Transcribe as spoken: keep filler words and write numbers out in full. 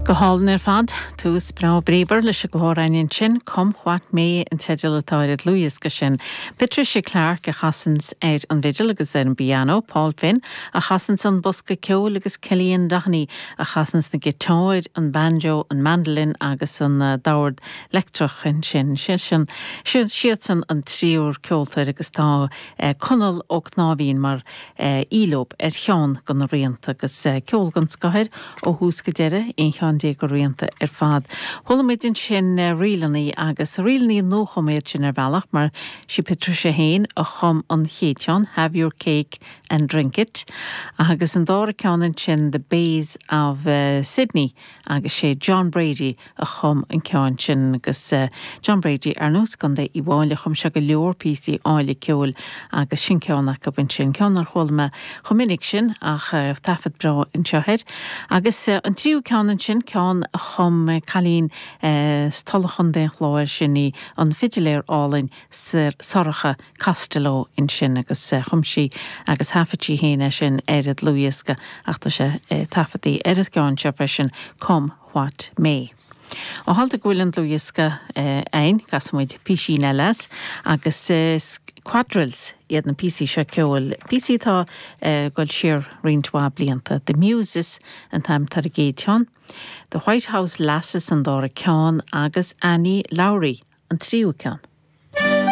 Go hálainn ar fad tús breá bríomhar leis an gclár ansin Come What May an teideal atá ar an dlúthdhiosca sin. Patricia Clark a chasanns ar an bhfidil agus ar an bpianó, Paul Finn a chasanns an bosca ceoil agus Cillian Doheny a chasanns na giotáir, an banjo, an mandolin agus an uh, dord leictreach ansin sin sin siadsan an triúr ceoltóir agus tá uh, Conall Ó Cnáimhín mar uh, aoi ar cheann de na rianta agus uh, ceol den scoth ó thús go deireadh aon cheann de na rianta ar fad. Chuala muid ansin uh, ríleanna agus ríleanna nuachumtha sin ar bhealach mar sí Patricia féin a chum an chéad cheann, have your cake and drink it, agus an dara ceann ansin the Bays of uh, Sydney agus sé John Brady a chum an ceann sin agus uh, John Brady ar nós gan de i bháile chum se go leor píosaí áille ceoil agus sin ceann acu ansin ceann nár chuala mé chomh minic sin ach uh, taifead breá anseo air. Agus uh, an tríú ceann ansin ceann a chum uh, cailín uh, stolchan den chláir sin í an fidiléir álainn Sorcha Costello ansin agus uh, chum sí agus thaifead sí féin sin ar an dlúthdhiosca ach tá sé uh, taifeadta ar an gceann seo freisin Come What May. Ó tharla go bhfuil an dlúthdhiosca againn casfaimid píosín eile agus uh, quadrilles iad na píosaí seo ceoil. Píosaí atá uh, ag dul siar roinnt mhaith blianta. The Muses an t-ainm ar an gcéad cheann. The White House Lasses an dara ceann agus Annie Lowry an tríú ceann.